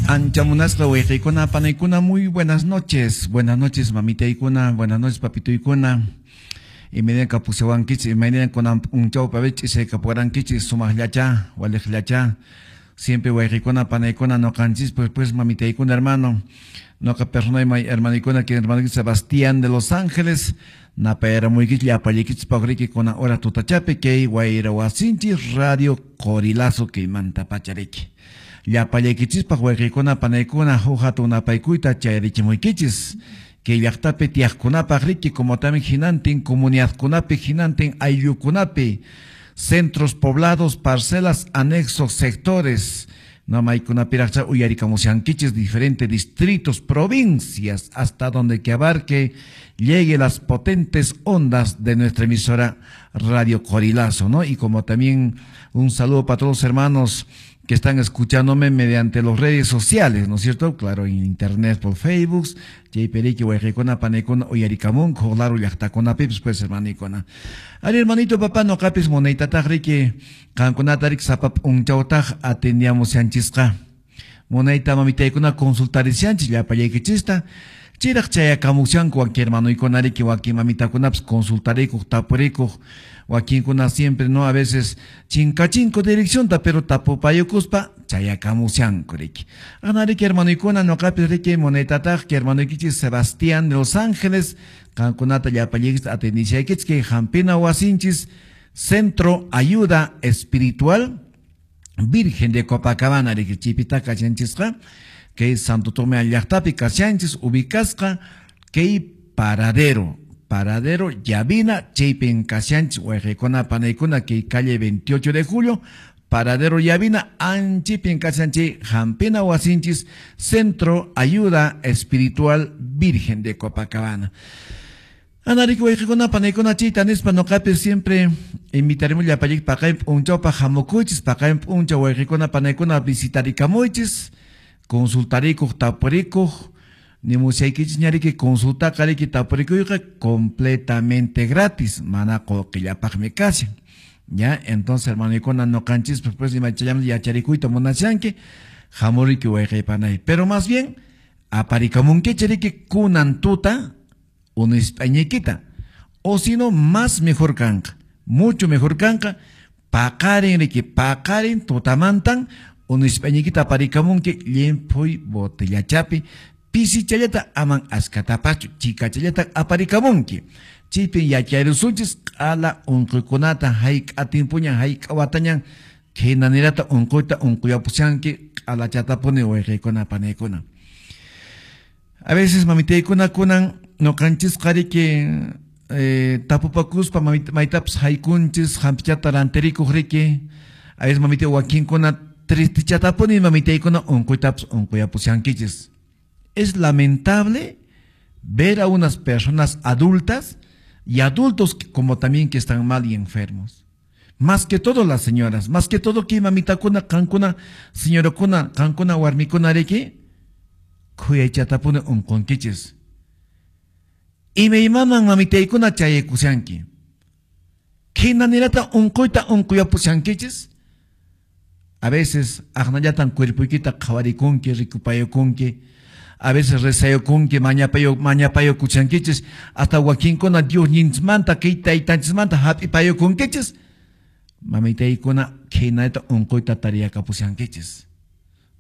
Ancha munasqa wayqiykuna panaykuna, muy buenas noches. Buenas noches, mamitaykuna, buenas noches, papituykuna. Imaynan kapushawankichis, imaynan kunan p'unchawpi ch'isaykapuwarankichis, sumaqllacha, waliqllacha. Siempre wayqiykuna panaykuna noqanchis, pues mamitaykuna, hermano. Noqa personay hermanoykuna, que hermano Sebastián de Los Ángeles, napayramuykichis llapallaykichis paqriki kunan hora tutachapi kay wayra wasinchis Radio Qorilazo kaymanta pachariki. Llapallaykichispaq wayqiykuna panaykuna huk hatun napaykuyta chayarichimuykichis. Kay llaqtapi tiyaqkunapaq riki, como también hinantin comunidadkunapi, hinantin ayllukunapi, centros poblados, parcelas, anexos, sectores, no maykunapiraqcha uyarikamushankichis diferentes distritos, provincias, hasta donde que abarque llegue las potentes ondas de nuestra emisora Radio Qorilazo, ¿no? Y como también un saludo para todos los hermanos que están escuchándome mediante las redes sociales, ¿no es cierto? Claro, en internet, por Facebook, chaypi riki, wayqiykuna, panaykuna, uyarikamunku, claro, llaqtakunapipis, pues, hermanikuna. Ari, hermanito, papá, noqapis munaytataq riki, qankunata riki sapa p'unchawtaq atendiamushanchisqa. Munayta mamitaykuna consultarishanchis llapallaykichista. Chayraq chayakamushanku wakin hermanoykuna riki, wakin mamitakunapis consultarikuq, tapurikuq, wakinkuna siempre, no, a veces chinkachinko direccionta, pero tapupayukuspa chayakamushanku riki. Ana riki hermanoykuna, noqapis riki munaytataq que hermanoykichis Sebastián de Los Ángeles, qankunata llapallaykichis atendishaykichis kay hampina wasinchis Centro Ayuda Espiritual Virgen de Copacabana riki chipita kashanchisqa, kay Santo Tomé llaqtapi kashanchis ubicasqa kay paradero Llavina, chaypin kashanchis wayqiykuna panaykuna kay calle 28 de julio, paradero Llavina, anchipin kashanchis hampina wasinchis Centro Ayuda Espiritual Virgen de Copacabana. Anariki wayqiykuna panaykuna chayta nispa noqapis siempre invitaremos llapallayki paqarin p'unchawpaq hamukuychis, paqarin p'unchaw wayqiykuna panaykuna visitarikamuychis, consultarikuq, tapurikuq, nimushaykichis ñariki consultaqa riki tapurikuyqa completamente gratis, mana qullqillapaqmi kashan. Ya, entonces hermanoykuna noqanchis pues imachayam yacharikuyta munashanki, hamuriki wayqiypanay. Pero más bien aparikamunkichis riki kunan tuta unisp'añaykita, o si no más mejor kanqa, mucho mejor kanqa, paqarin riki, paqarin tutamantan unisp'añaykita aparikamunki llimphuy botellachapi, pisichallata aman askatapachu, chikachallata aparikamunki. Chaypin yacharusunchis q'ala unquykunata hayk'a timpuñan hayk'a watañan khaynanirata unquyta unquyapushanki q'alachatapuni wayqiykuna panaykuna. A veces mamitaykuna kunan noqanchisqa riki tapupakuspa maytapas haykunchis hampichata rantirikuq riki. A veces mamita wakinkuna tristechatapuni mamitaykuna unquytapas unquyapushankichis. Es lamentable ver a unas personas adultas y adultos como también que están mal y enfermos. Más que todo las señoras, más que todo que mamitakuna, qankuna, señorakuna, qankuna, warmikuna riki, khuyaychatapuni unqunkichis. Imaymaman mamitaykuna chayaykushanki. Khinanirata unquyta unquyapushankichis. A veces aqnallatan cuerpoykita qhawarikunki, rikupayukunki. A veces rezayukunki, mañapayukuchankichis, hasta wakinkuna Dios ninchismanta, kay taytanchismanta hap'ipayukunkichis. Mamitaykuna khaynata unquyta tariyakapushankichis.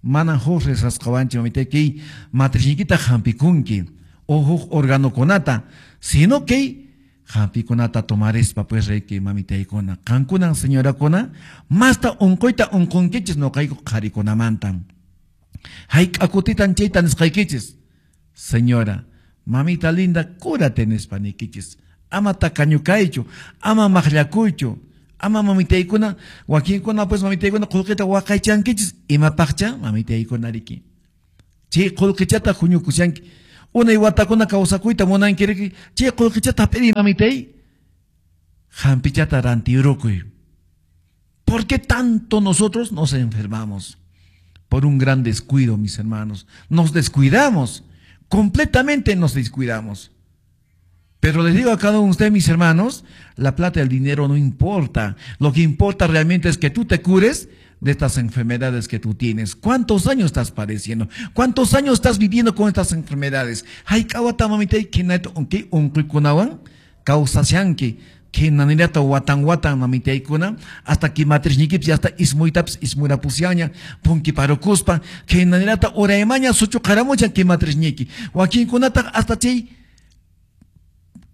Mana huk rezasqawanchik mamitay kay matrichiykita hampikunki o huk organokunata, sino kay hampikunata tomarispa pues riki mamitaykuna. Qankunan señorakuna masta unquyta unqunkichis noqayku qharikunamanta. Hayk'a kutitan chayta nisqaykichis. Señora, mamita linda, cúrate nispa niykichis. Ama takañukaychu, ama maqllakuychu, ama mamitaykuna, wakinkuna pues mamitaykuna qullqita waqaychankichis, imapaqcha mamitaykuna riki. Chay qullqichata huñukushanki. Unay watakuna kawsakuyta munanki riki, chay qullqichata hap'iri mamitay, hampichata rantiyurukuy. ¿Por qué tanto nosotros nos enfermamos? Por un gran descuido, mis hermanos. Nos descuidamos, completamente nos descuidamos. Pero les digo a cada uno de ustedes, mis hermanos, la plata y el dinero no importa. Lo que importa realmente es que tú te cures. de estas enfermedades que tú tienes? ¿Cuántos años estás padeciendo? ¿Cuántos años estás viviendo con estas enfermedades? Hayk'a wata mamitay khinata unquykunawan kawsashanki, khinanirata watan watan mamitaykuna hasta que matrisniykipis hasta ismuytapis ismurapusyaña punkiparukuspa khinanirata uraymaña suchuqaramuchan kay matrisniyki wakinkunataq hasta chay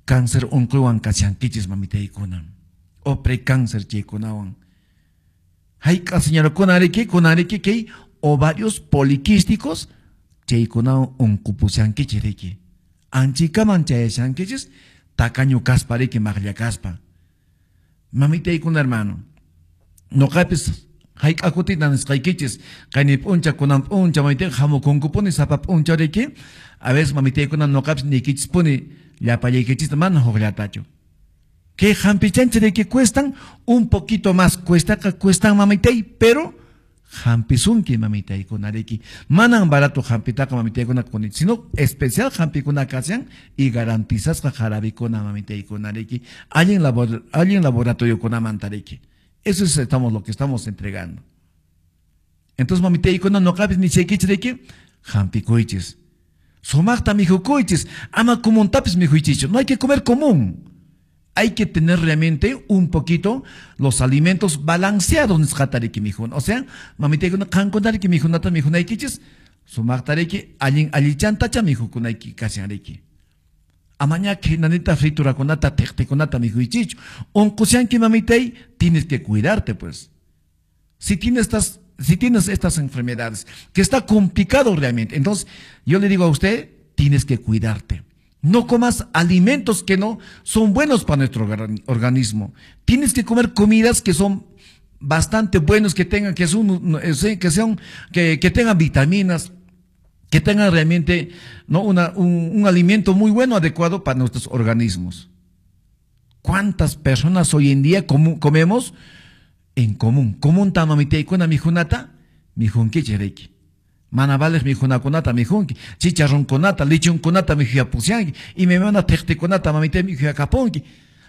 cáncer unquywan kashankichis mamitaykuna o precáncer chaykunawan. Hayk'a señorakuna riki kunariki kay ovarios poliquísticos chaykunawan unqupushankichis riki anchikaman chayashankichis tacaño kaspa riki maqlla kaspa. Mamitaykuna hermano, noqapis hayk'a kutita nisqaykichis qayni p'uncha kunan p'uncha mamitayqa hamukunkupuni sapa p'uncha riki a veces mamitaykuna noqapis niykichispuni llapallaykichista mana hukllatachu. Que hampichanchis riki cuestan un poquito más, cuestaqa cuestan mamitay, pero hampisunki mamitaykuna riki. Manan barato hampitaqa mamitaykuna kuni, sino especial hampikuna kashan y garantizasqa jarabikuna mamitaykuna riki. Allin laboratoriokunamanta riki. Eso es estamos, lo que estamos entregando. Entonces mamitaykuna noqapis nichaykichis riki, hampikuychis. Sumaqta mijukuychis, ama comuntapis mijuychischu. No hay que comer común. Hay que tener realmente un poquito los alimentos balanceados nisqatariki mijuna. O sea, mamitaykuna qankunariki mijunata mijunaykichis, sumaqtariki allin allichantacha mijukunayki kashanriki. Amaña khinanita friturakunata tiqtikunata mijuychichu. Unqushanki mamitay, tienes que cuidarte pues. Si tienes estas enfermedades, que está complicado realmente, entonces yo le digo a usted, tienes que cuidarte. No comas alimentos que no son buenos para nuestro organismo. Tienes que comer comidas que son bastante buenos, que tengan, que tengan vitaminas, que tengan realmente, ¿no?, un alimento muy bueno, adecuado para nuestros organismos. ¿Cuántas personas hoy en día comemos en común? Común ta mamitaykuna mijunata, mijunkichis riki. Mana vales mijunakunata mijunki, chicharronkunata, lichunkunata mijuyapusyanki, imaymana tiqtikunata mamitay mijuyakapunki.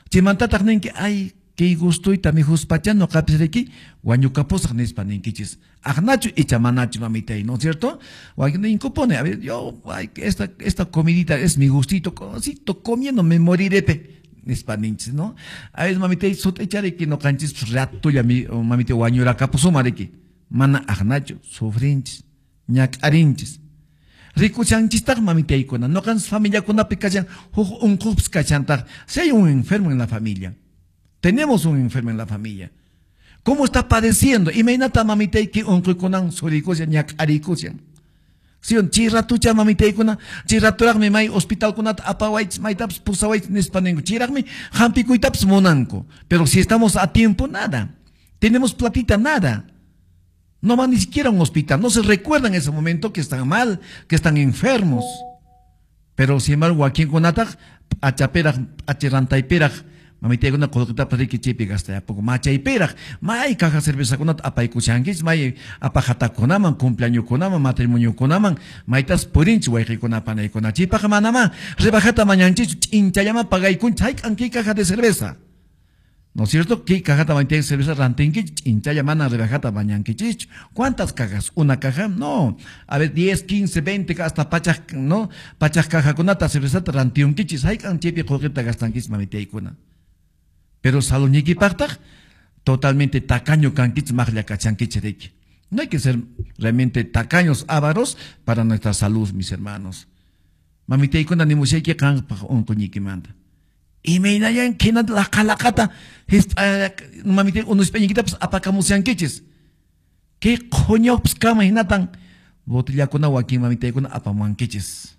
Chaymantataq ninki, ay, kay gustuyta mijuspacha noqapis riki, wañukapusaq nispa ninkichis. Aqnachu icha manachu mamitay, ¿no es cierto? Ninkupone, a ver, yo, ay, esta comidita es mi gustito, cosito, comiendo me moriré, pe. Nispa ninchis, ¿no? A veces mamitay sut'ichariki noqanchis ratulla mamitay wañurakapusuma riki. Mana aqnachu, sufrinchis. Ñak'arinchis. Rikuchanchistaq mamitaykuna, noqanchis familiakunapi kashan huk unqupis kashantaq. Si hay un enfermo en la familia, tenemos un enfermo en la familia. ¿Cómo está padeciendo? Imaynata mamitayki unquykunan surikushan, ñak'arikushan. Si chay ratucha mamitaykuna, chay raturaqmi may hospitalkunata apawaychis, maytapas pusawaychis nispa ninku. Chayraqmi hampikuytapas munanku. Pero si estamos a tiempo, nada. Tenemos platita, nada. No van ni siquiera a un hospital, no se recuerdan en ese momento que están mal, que están enfermos. Pero sin embargo, wakinkunataq achaperaq, achirantayperaq, mamitaykuna qullqitapas riki chaypi gastayapunku, machayperaq, may caja cervezakunata apaykushankichis, may apajatakunaman, cumpleañokunaman, matrimoniokunaman, maytas purinchis wayqikuna panaykuna. Chaypaqqa manamá rebajata mañanchikchu, ch'inchallaman pagaykunchis, hayk'an kay caja de cerveza. ¿No es cierto? ¿Qué cajata mañanki cerveza rantinki? Chinchaya mana rebajata mañankichich. ¿Cuántas cajas? ¿Una caja? No. A ver, 10, 15, 20, hasta pachaj, ¿no? Pachaj cajakunata cervezata rantionkichis. Hayk'an chaypi qullqita gastankichis mamitaykuna. Pero saludnikipaqtaq totalmente tacaño kankichis maqlla kachankichis riki. No hay que ser realmente tacaños, ávaros para nuestra salud, mis hermanos. Mamitaykuna nimushayki qanpaq unquñikimanta. Imaynayan khinata laqalaqata mamitay unusp'añiykitapas apakamusyankichis. Kay qhuñawpas kama hinatan botellakuna wakin mamitaykuna apamuankichis.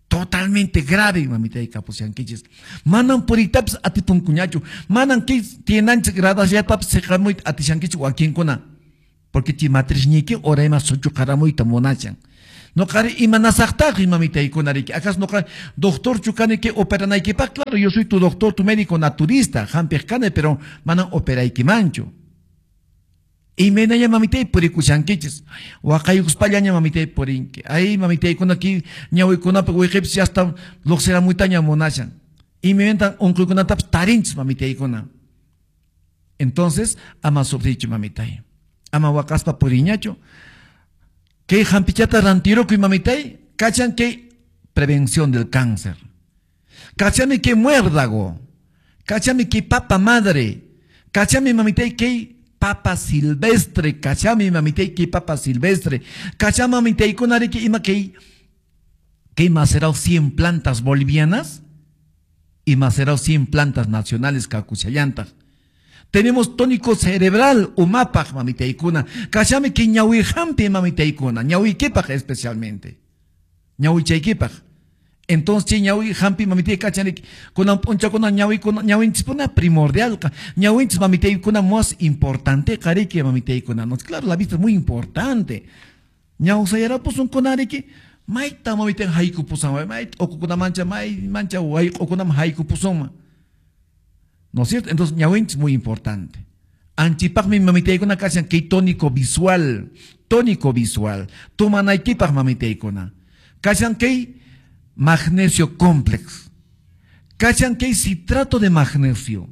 Totalmente grave mamitay kapusyankichis. Manan puriytapas atipunkuñachu. Manan kay tienanchik gradasllatapas siqamuyta atishankichis wakinkuna. Porque chay matrisniyki urayman suchuqaramuyta munashan. Noqari imanasaqtaqri mamitaykuna riki. ¿Acaso noqari doctorchu kani que operanaykipaq? Claro, yo soy tu doctor, tu médico naturista, hampiq kani, pero manan operaykimanchu. Imaynaña mamitay purikushankichis. Waqaykuspallaña mamitay purinki. Ay mamitaykuna ki ñawikunapi wiqipis hasta luqsiramuytaña munashan. Imaymantan unquykunatapas tarinchis mamitaykuna. Entonces, ama sufrichu mamitay. Ama wakaspa puriñachu. Kay hampichata rantirukuy mamitay, kachan kay prevención del cáncer. Kachami kay muérdago. Kachami kay papa madre. Kachami mamitay kay papa silvestre. Kachami mamitay kay papa silvestre. Kachami mamitay kunariki ima kay macerao 100 plantas bolivianas y macerao 100 plantas nacionales kakuchallantaq. Tenemos tónico cerebral, umapaj, mamitaykuna. Kachami que ñawihampi, mamitaykuna. Ñawiquipaj especialmente. Ñawichaykipaj. Entonces, ñawi hampi, mamitay, kachanik. Kunan puncha, kunan ñawi, kunan ñawinchispuna primordial. Ñawinchis, mamitaykuna, más importante, kariki, mamitaykuna. No, claro, la vista es muy importante. Ñawsayarapusun kunariki. Maita, mamitay, haykupusan. Maita, okukuna mancha, may mancha, okunam haykupusun. ¿No es cierto? Entonces, ñawinch es muy importante. Anchipaj mi mamitaykuna kachan kay tónico visual. Tónico visual. Tumanaykipaj mamitaykuna. Kachan kay magnesio complex. Kachan kay citrato de magnesio.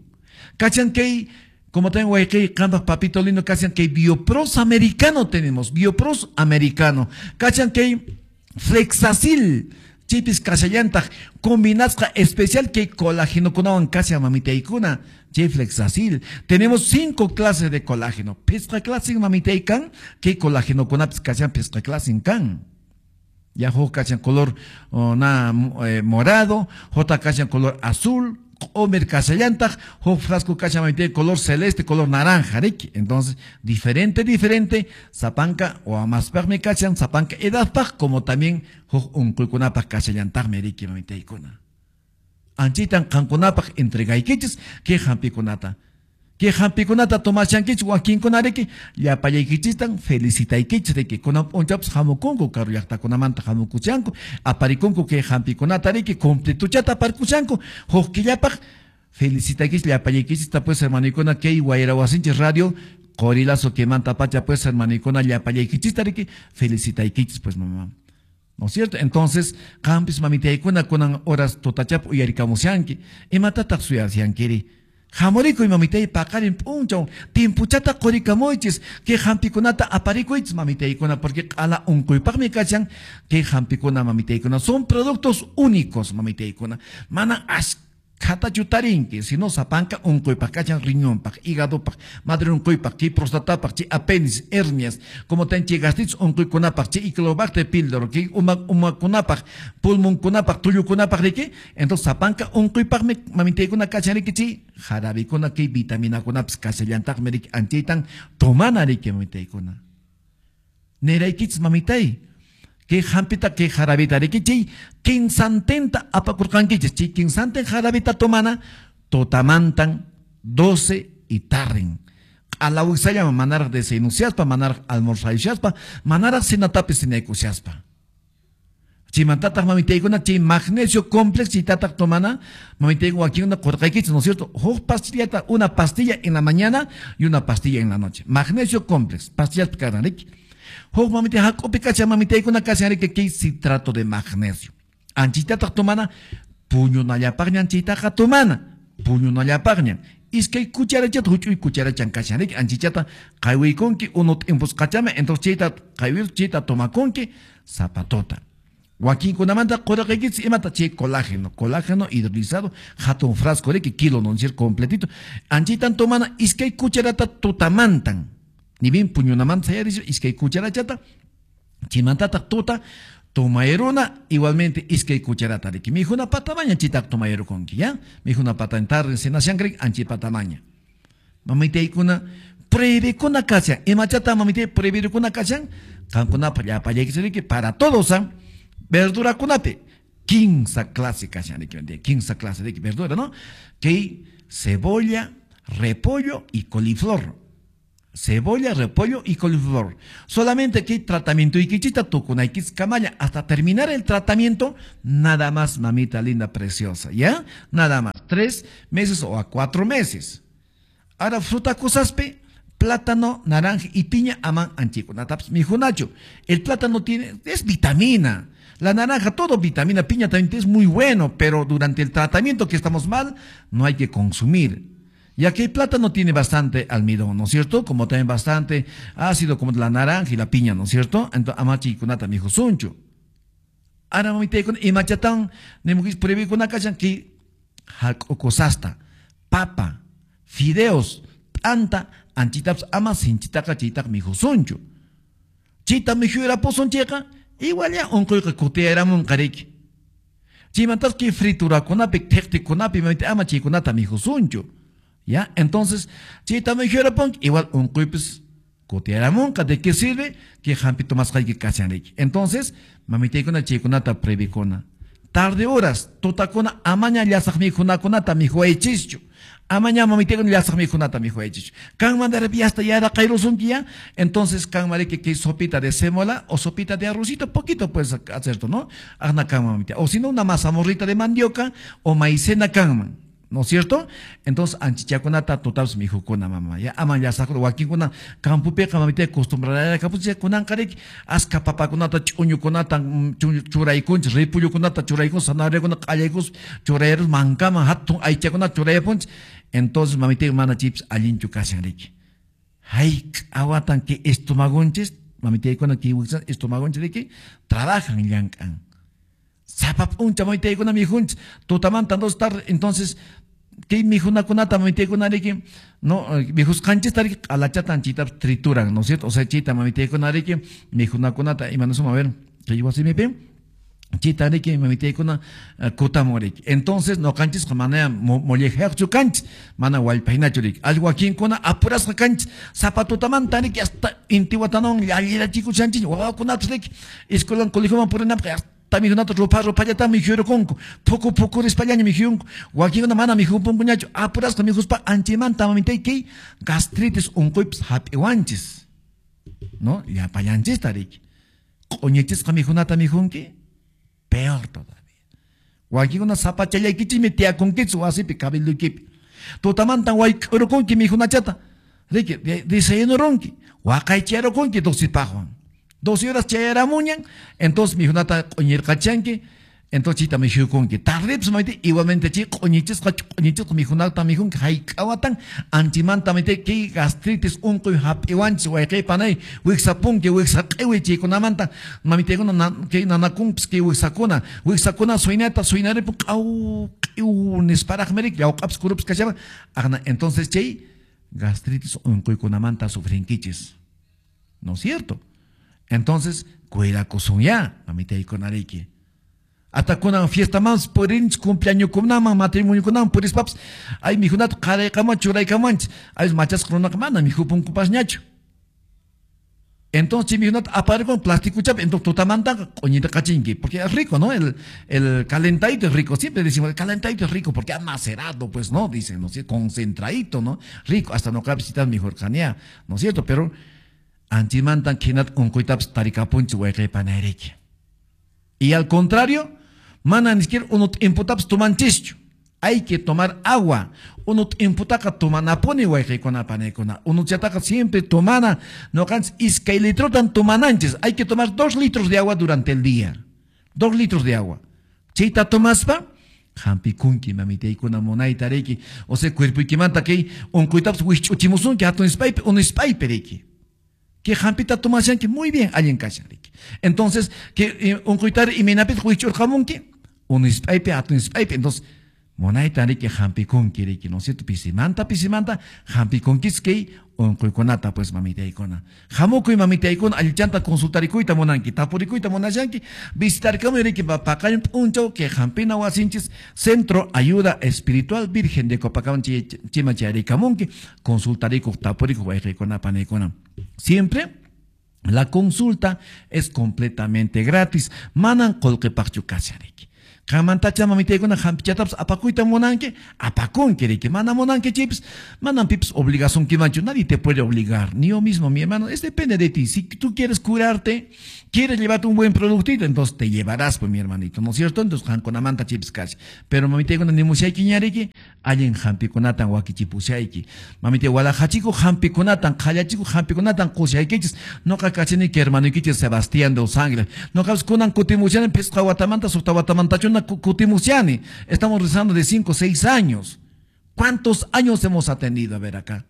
Kachan kay, como tengo ahí, kampas papito lindo, kachan kay biopros americano tenemos. Biopros americano. Kachan kay flexacil. Chipis kashallantaj combinasqa especial que colágeno kunawan kasha mamitaykuna chay flexacil. Tenemos 5 clases de colágeno. Pisqa clase mamitaykan que colágeno kunapis kashan pisqa clase kan. Ya huk kashan color morado, jota kashan color azul, omer kashallantaj, huk frasco kashan mamitay color celeste, color naranja, riki. Entonces, diferente, diferente, sapanka o amaspajmi kashan, sapanka edadpaj, como también huk unquykunapaj kashallantajmi riki mamitaykuna. Anchitan qankunapaj entregaykichis kay hampikunata. Kay hampikunata tomashankichis wakinkuna riki, llapallaykichishtan felicitaykichis riki. Kunan p'unchawpis hamukunku karu llaqtakunamanta hamukuchanku, aparikunku kay hampikunata riki, completuchata aparikushanku, huk killapaj felicitaykichis llapallaykichista pues hermanikuna kay Wayrawasinchis radio Qorilazo kimanta pacha pues hermanikuna llapallaykichista riki, felicitaykichis pues mamá. ¿No es cierto? Entonces, qampis mamitaykuna kunan horas tutachap uyarikamushanki, imatataq suyashankiri? Hamurikuy mamitay paqarin p'unchaw timpuchata qurikamuychis kay hampikunata aparikuychis mamitaykuna porque q'ala unquypaqmi kachan kay hampikuna mamitaykuna son productos únicos mamitaykuna mana ashkhatachu tarinki sino sapanka unquypaq kachan riñonpaq hígadopaq madre unquypaq chay prostatapaq chay apéndice hernias como ten chay gastritis unquykunapaq chay Helicobacter pylori chay umakunapaq pulmonkunapaq tullukunapaq riki. Entonces sapanka unquypaqmi mamitaykuna kachan riki chay jarabikuna kay vitaminakunapis kashallantaqmi riki anchaytan tomana riki mamitaykuna. Neraykichis mamitay kay hampita kay jarabita riki chay kinsantenta apakurqankichis chay kinsanten jarabita tomana totamantan 12 y tarrin. Q'alawisallama manaraq desayunushaspa manaraq almorzayushaspa manaraq cenatapis cenaykushaspa. Chimantataq mamitaykuna chay magnesio complex chaytataq tomana mamitaykuna wakinkuna qurqaykichis, ¿no es cierto? Huk pastillata, una pastilla en la mañana y una pastilla en la noche. Magnesio complex, pastillas karan riki. Huk mamitay hak'upi kashan mamitaykuna kashan riki kay citrato de magnesio. Anchitataq tomana puñunallapaqñan chaytaqa tomana, puñunallapaqñan. Iskay cucharachata huch'uy cucharachan kashan riki anchichata qaywiykunki unu t'impusqachama entonces chayta qaywir chayta tomakunki zapatota. Wakinkunamanta qurqaykichis imata chay colágeno, colágeno hidrolizado, hatun frasco riki kilo non sir completito. Anchitan tomana iskay cucharata tutamantan. Ni bien puñunamanta sayarispa iskay cucharachata chimantataq tuta tomayruna igualmente iskay cucharata riki. Mijuna patamaña chitaq tomayrukunki, ya? Mijuna patan tarde cenashan riki anchi patamaña. Mamitaykuna prohibikuna kashan, imachata mamitay prohibikuna kashan, qankunapaq llapallaykichis riki para todos, ¿ah? Verdura kunapi, 15 clase kashan riki, 15 clase de verdura, ¿no? Que cebolla, repollo y coliflor. Cebolla, repollo y coliflor. Solamente que tratamiento y kichita tukunaykis kamalla hasta terminar el tratamiento, nada más, mamita linda preciosa, ¿ya? Nada más, 3 meses o a 4 meses. Ahora fruta kusaspi, plátano, naranja y piña aman anchikunataps mijunachu. El plátano tiene, es vitamina. La naranja, todo vitamina, piña también es muy bueno, pero durante el tratamiento que estamos mal, no hay que consumir. Ya que el plátano tiene bastante almidón, ¿no es cierto? Como también bastante ácido, como la naranja y la piña, ¿no es cierto? Entonces, ama chaykunata mikhusunchu. Ahora mamitaykuna imachatan nimukis prohibikuna kashan ki hak'ukusasta, papa, fideos, t'anta, anchitapas ama sinchitaqa chaytaqa mikhusunchu. Chayta mikhuyrapusun chayqa igual ya unquyqa kutiyaramunqa riki. Chaymantas kay friturakunapi, thiqtikunapi mamita ama chaykunata mikhusunchu. ¿Ya? Entonces, chayta mikhuyrapunki igual unquypis kutiyaramunqa. ¿De qué sirve? Que hampi tomasqayki kashan riki. Entonces, mamitaykuna chaykunata prohibikuna. Tarde horas, tutakuna amaña llasaq mikhunakunata mikhuwaychischu. Amaña mamitaykuna llasaq mikhunata mikhuwaychischu. Kanman de repente hasta ya yaraqayrusunki ya. Entonces, kanman riki que sopita de sémola o sopita de arrocito, poquito puedes hacer, ¿no? Aqna kanman mamita. O si no, una mazamorrita de mandioca o maicena kanman. ¿No es cierto? Entonces, anchichakunata tutapas mikhukuna mama. Ya ama llasaq wakinkuna campopiqa mamita acostumbraraya kapunchik kunanqa riki aska papakunata ch'uñukunata churaykunchik, ripullukunata churaykunchik, zanahoriakuna q'allaykus churayarus mankaman hatun aychakunata churayapunchik. Entonces, mamita mana chaypis allinchu kashan riki. Hayk'a watan kay estomagonchis, mamitaykuna kay estomagonchis riki trabajan llank'an. Sapa p'unchaw mamitaykuna mikhunchik, tutamanta dos tarde, entonces kay mikhunakunata mamitaykuna riki, no, mikhusqanchista riki q'alachatan chaytapas trituran, ¿no es cierto? O sea, chayta mamitaykuna riki mikhunakunata imanasuma, a ver, kay wasimipi chayta riki mamitaykuna kutamun riki. Entonces, ñuqanchisqa mana mollejayaqchu kanchik, mana wallpahinachu riki. Allqu wakinkuna apurasqa kanchik, sapa tutamanta riki hasta intiwatanawan llallirachikushanchik, wawakunatas riki escuelan colegioman purinapaq hasta mikhunata rupha ruphallata mikhuyurqunku, phuku phukurispallaña mikhuyunku. Wakinkuna mana mikhupunkuñachu, apurasqa mikhuspa anchaymanta mamitay kay gastritis unquypas hap'iwanchis, ¿no? Llapallanchista riki. Q'uñichisqa mikhunata mikhunki, peor todavía. Wakinkuna sapachallaykichikmi tiyakunkichik wasipi cabilduykipi. Tutamantan wayk'urukunki mikhunachata, riki, desayunurunki, waqaycharukunki 12 paqwan. 12 horas chayaramuñan, entonces mikhunata q'uñirqachanki, entonces chayta mikhuykunki. Tardepas mamita igualmente chay q'uñichisqa q'uñichisqa mikhunata mikhunki hayk'a watan anchimanta mamita kay gastritis unquy hap'iwanchis wayqey panay wiksapunki wiksa q'iwi chaykunamanta mamitaykuna kay nanakunpis kay wiksakuna wiksakuna suynata suynaripun q'aw q'iw nisparaqmi riki llawq'apis kurupis kashaba aqna entonces chay gastritis unquykunamanta sufrinkichis, ¿no es cierto? Entonces, cuidakusunya, mamitaykuna riki. Hasta kunan fiestaman purinchik cumpleañokunaman matrimoniokunaman purispapas ay mikhunata qaraykaman churaykamanchik ay machasqa runaqa mana mikhupunkupasñachu. Entonces, mikhunata aparikun plastikuchapi, entonces tutamantaqa q'uñita qachinki, porque es rico, ¿no? El calentadito es rico, siempre decimos, el calentadito es rico porque ha macerado, pues, ¿no? Dicen, ¿no? Concentradito, ¿no? Rico, hasta no cabe citar mejor canea, ¿no es cierto? Pero anchimantan khinata unquytapas tarikapunchik wayqey. Y al contrario, mana ni siquiera unu t'imputapas tumanchischu. Hay que tomar agua. Unu t'imputaqa tumanapuni wayqiykuna panaykuna. Unuchataqa siempre tomana. Ñuqanchis iskay litrotan tumananchis. Hay que tomar 2 litros de agua durante el día. 2 litros de agua. Chayta tomaspa, hampikunki mamitaykuna munayta riki. O sea, cuerpoykimanta kay unquytapas wikch'uchimusunki hatun ispaypi, unu ispaypi riki. Que hampita tomashanki muy bien allin kashan riki. Entonces, que unquytari imaynapitaq wikch'urqamunki, unu ispaypi, hatun ispaypi. Entonces, munayta riki hampikunki riki, ¿no es cierto? Pisimanta, pisimanta, hampikunkis kay unquykunata, pues, mamitaykuna. Hamukuy mamitaykuna, allichanta consultarikuyta munanki, tapurikuyta munashanki, visitarikamuy riki paqarin p'unchaw kay hampina wasinchis, Centro Ayuda Espiritual Virgen de Copacabana chayman chayarikamunki, consultarikuq, tapurikuq wayqiykuna, panaykuna. Siempre la consulta es completamente gratis. Manan qullqipaqchu kashan riki. Qanmantacha mamitaykuna hampichatapas apakuyta munanki, apakunki riki. Mana munanki chaypis, manam pipis obligasunkimanchu. Nadie te puede obligar, ni yo mismo, mi hermano. Es depende de ti. Si tú quieres curarte, quieres llevarte un buen productito, entonces te llevarás, pues, mi hermanito, ¿no es cierto? Entonces, qankunamanta chaypis kashan. Pero mamitaykuna nimushaykiña riki, allin hampikunatan wakichipushayki. Mamitay walaqachikuq hampikunatan, qhallachikuq hampikunatan qushaykichis. Ñuqa kachani hermanoykichis Sebastián de Los Ángeles. Ñuqapas kunan kutimushani phisqa watamanta, suqta watamantachuna kutimushani. Estamos rezando de 5 o 6 años. ¿Cuántos años hemos atendido? A ver acá.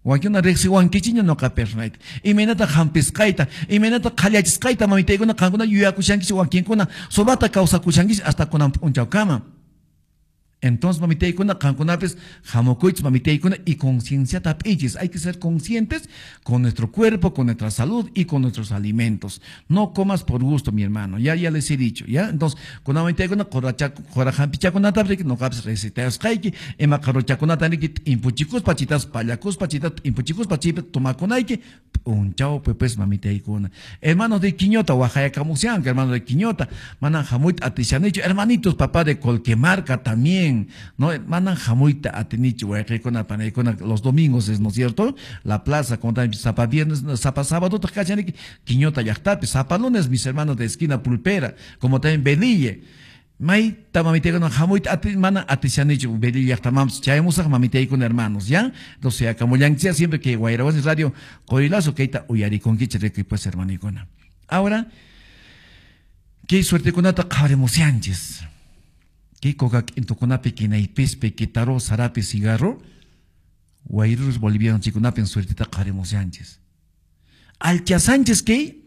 Wankuna riqsiwankichiña noqa personayta. Imaynata hampisqayta, imaynata qhallachisqayta mamitaykuna qankuna yuyakushankichis wakinkuna sumaqta kawsakushankichis hasta kunan p'unchawkama. Entonces, mamitaykuna, qankunapis hamukuychis mamitaykuna y concienciata p'ichis. Hay que ser conscientes con nuestro cuerpo, con nuestra salud y con nuestros alimentos. No comas por gusto, mi hermano. Ya les he dicho, ¿ya? Entonces, con mamitaykuna, qorahampichakunata noqapis recetasqayki, ima qaruchakunata riki t'impuchikuspa, chitas pallakuspa, chitas t'impuchikuspa, chaypi tomakunayki, p'unchawpi pues mamitaykuna. Hermanos de Quiñota, waqayakamushanku, hermanos de Quiñota, manan hamuyta atishanichu, hermanitos, papá de Colquemarca también. No, manan hamuyta atinichu wayqikuna panaykuna los domingos es, ¿no es cierto? La plaza, como también sapa viernes, sapa sábado, kachaniki, Quiñota llaqtapi, sapa lunes, mis hermanos de esquina Pulpera, como también Belille. Mayta mamitaykuna hamuyta manan atishanichu Belille llaqtamanpis chayamusaq mamitaykuna hermanos, ¿ya? Entonces, akamullanchis siempre que Wayrawasi Radio Qorilazo kayta uyarikunkichis rikuy pues hermanikuna. Ahora, ¿qué suertekunata qhawarimushanchis? Kay coca k'intukunapi kinaypispi kitaro sarapi cigarro wayrurus boliviano chikunapi suertita qhawarimushanchis. Alchasanchis kay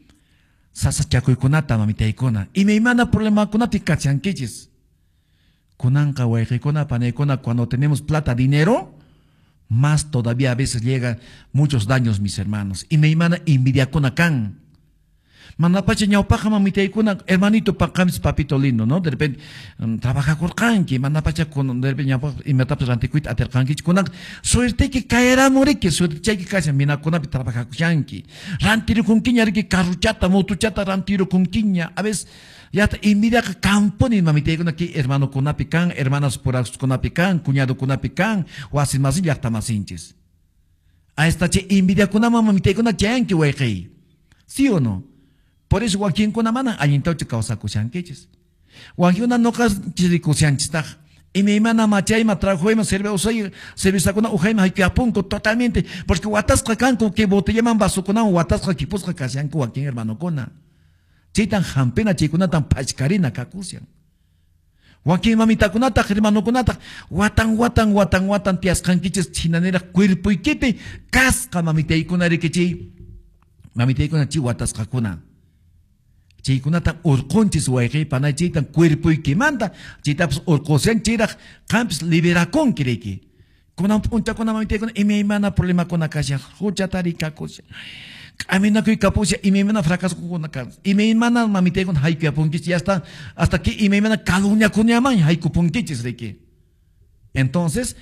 sasachakuykunata mamitaykuna imaymana problemakunapi kachankichis. Kunanqa wayqikuna panaykuna cuando tenemos plata, dinero, más todavía a veces llegan muchos daños, mis hermanos. Imaymana envidiakuna kan. Manapacha ñawpaqa mamitaykuna, hermanito paqamis papito lindo, ¿no? De repente trabajakurqanki, manapacha de repente ñawpaqa imatapas rantikuyta atirqankichu, kunan suerteyki kayaramuriki, suertechayki kashan minakunapi trabajakushanki. Rantirukunkiña riki carruchata, motuchata rantirukunkiña. A veces yata envidiaqa kampuni mamitaykuna ki hermanokunapi kan, hermanas puraskunapi kan, cuñadokunapi kan, wasimasin llaqtamasinchis. A esta che envidiakunaman mamitaykuna chayanki wayqiy. ¿Sí o no? Por eso wakinkuna manan allintawchu kawsakushankichis. Wakinkuna noqa chirikushanchistaq. Imaymana machayma trabajoyma cervezakuna ujayma hayk'apunku totalmente. Porque watasqa kanku que botellaman vasokunawan watasqa kipusqa kashanku wakin hermanokuna. Chaytan hampina chaykunatan pachkarina kakushan. Wakin mamitakunataq hermanokunataq watan watan watan watan tiyasqankichis chinaniraq cuerpoykipi kasqa mamitaykuna rikichiy. Mamitaykuna chay watasqakuna. Chaykunatan urqunchis wayqi panay chaytan cuerpoykimanta chaytapas urqushan chayraq qampis liberakunki riki. Kunan p'unchakuna mamitaykuna imaymana problemakuna kashan huchata rikakushan k'aminakuy kapushan imaymana fracasokuna kan imaymana mamitaykuna hayk'uyapunkichis ya está hasta que imaymana calumniakunaman haykupunkichis riki. Entonces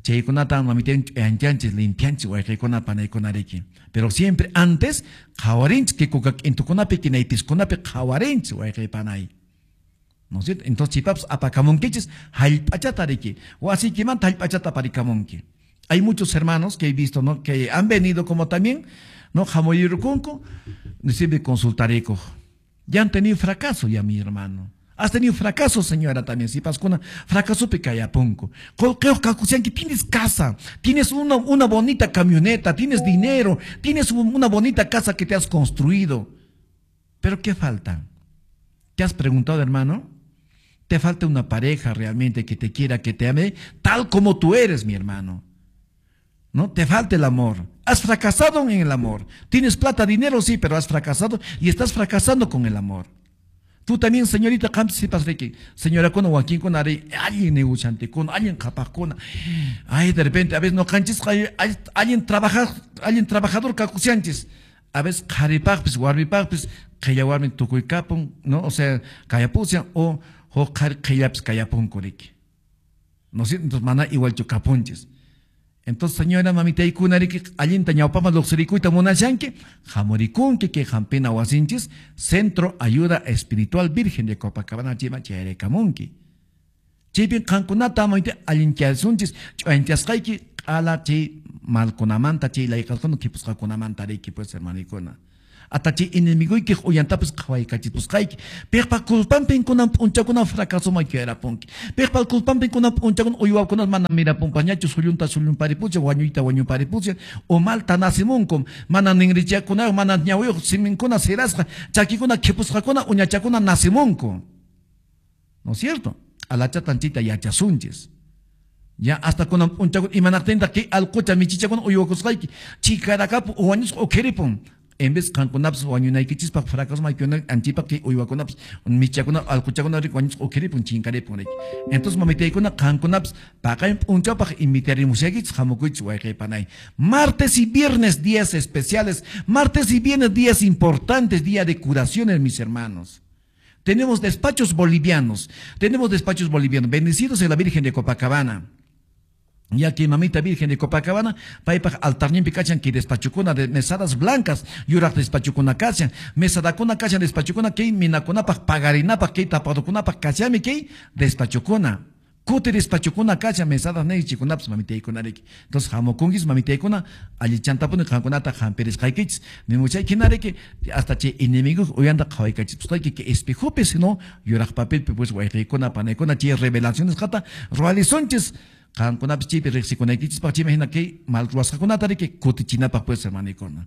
chaykunata mamitaykuna ch'uyanchanchis limpianchis wayqikuna panaykuna riki. Pero siempre antes qhawarinchis que coca k'intukunapi kinaypiskunapi qhawarinchis wayqi panay. ¿No es cierto? Entonces chaypapas apakamunkichis hallp'achata riki. Wasiykimanta hallp'achata aparikamunki. Hay muchos hermanos que he visto, ¿no? Que han venido como también, ¿no? Hamuyurukunku, siempre consultarikuq. Ya han tenido fracaso ya, mi hermano. Has tenido fracaso, señora, también. Si pascuna, fracaso picayapunco. Que tienes casa, tienes una bonita camioneta, tienes dinero, tienes una bonita casa que te has construido. Pero ¿qué falta? ¿Te has preguntado, hermano? Te falta una pareja realmente que te quiera, que te ame, tal como tú eres, mi hermano. ¿No? Te falta el amor. Has fracasado en el amor. Tienes plata, dinero, sí, pero has fracasado y estás fracasando con el amor. Tú también, señorita, señora, con wakinkuna, alguien negociante, con alguien qhapaqkuna. Ay, de repente, a veces no canchis, alguien trabaja, alguien trabajador kakushanchis. A veces qharipaqpis, warmipaqpis, qhilla warmi tukuykapun, ¿no? O sea, kayapushan o huk qhari qhillapis kayapunku riki. ¿No es cierto? Entonces, mana igualchu kapunchis. Entonces, señora, mamitaykuna riki, allinta ñawpaman luqsirikuyta munashanki, hamurikunki kay hampina wasinchis, Centro Ayuda Espiritual Virgen de Copacabana chayman chayraykamunki. Chaypin qankunata mamita allinchasunchis, ch'uyanchasqayki q'ala chay malkunamanta, chay layqasqakuna khipusqakunamanta riki, pues, hermanikuna. Hasta chay enemiguykiq uyantapas qhawaykachipusqayki. Piqpa culpanpin kunan p'unchakuna fracasoman quedarapunki. Piqpa culpanpin kunan p'unchakuna uywakuna mana mirapunpañachu sullunta sullunparipushan, wañuyta wañunparipushan, o malta nacimunkum, mana ninrichakuna, mana ñawiyuq siminkuna sirasqa, chakikuna khipusqakuna uñachakuna nacimunku. ¿No es cierto? Alachatan chayta yachasunchis. Ya hasta kunan p'unchakuna imanaqtintaq kay alqucha michichakuna uywakusqayki chikarakapu wañusqa ukhiripun. En vez qankunapas wañunaykichispaq fracaso anchipaq kay uywakunapas michakuna alquchakuna riki wañusqa ukhiripun chinkaripun riki. Entonces mamitaykuna qankunapas paqarin p'unchawpaq invitarimushaykichis hamukuychis wayqi panay. Martes y viernes días especiales, martes y viernes días importantes, día de curaciones, mis hermanos. Tenemos despachos bolivianos, tenemos despachos bolivianos, bendecidos en la Virgen de Copacabana. Ya que mamita Virgen de Copacabana, paypaq altarninpi kachan kay despachukuna de mesadas blancas, yuraq despachukuna kachan, mesadakuna kachan despachukuna kay minakunapaq pagarinapaq kay tapadukunapaq kachami kay despachukuna. Kuti despachukuna kachan mesadas neychikunapas mamitaykuna riki. Entonces hamukunkis mamitaykuna allichantapuni qankunata hampirisqaykichis. Nimuchay hina riki hasta chay enemigo uyanta qhawaykachisqayki que espejopi sino yuraq papelpi pues wayqiykuna panaykuna chay revelaciones qata ruwalisunchis. Qankunapis chaypi riqsikunaykichispaq chayman hina kay mal ruwasqakunata riki kutichinapaq pues hermanikuna.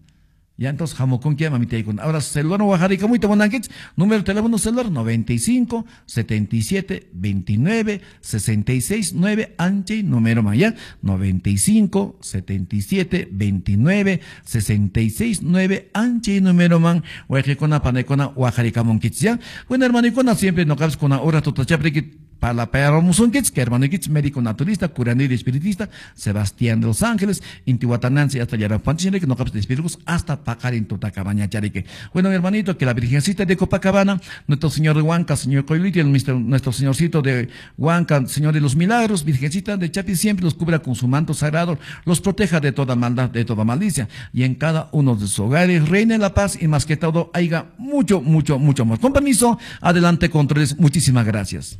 Ya entonces hamukunki mamitaykuna. Ahora celular waqarikamuyta munankichis, número de teléfono celular 95 77 29 66 9 anchay número man ya 95 77 29 66 9 anchay número man wayqikuna panaykuna waqarikamunkichis ya. Bueno hermanikuna siempre noqapis kuna hora tutachapriki parlapayaramusunkichis, que hermanoykichis médico naturista, curandero y espiritista, Sebastián de los Ángeles, Intihuatanansi hasta Yarapanchis, noqapis despedidos hasta paqarin tutakabañachariki. Bueno, mi hermanito, que la Virgencita de Copacabana, nuestro Señor de Huanca, Señor Coyoliti, nuestro Señorcito de Huanca, Señor de los Milagros, Virgencita de Chapi, siempre los cubra con su manto sagrado, los proteja de toda maldad, de toda malicia, y en cada uno de sus hogares reine la paz y más que todo haya mucho, mucho, mucho amor. Con permiso, adelante, controles, muchísimas gracias.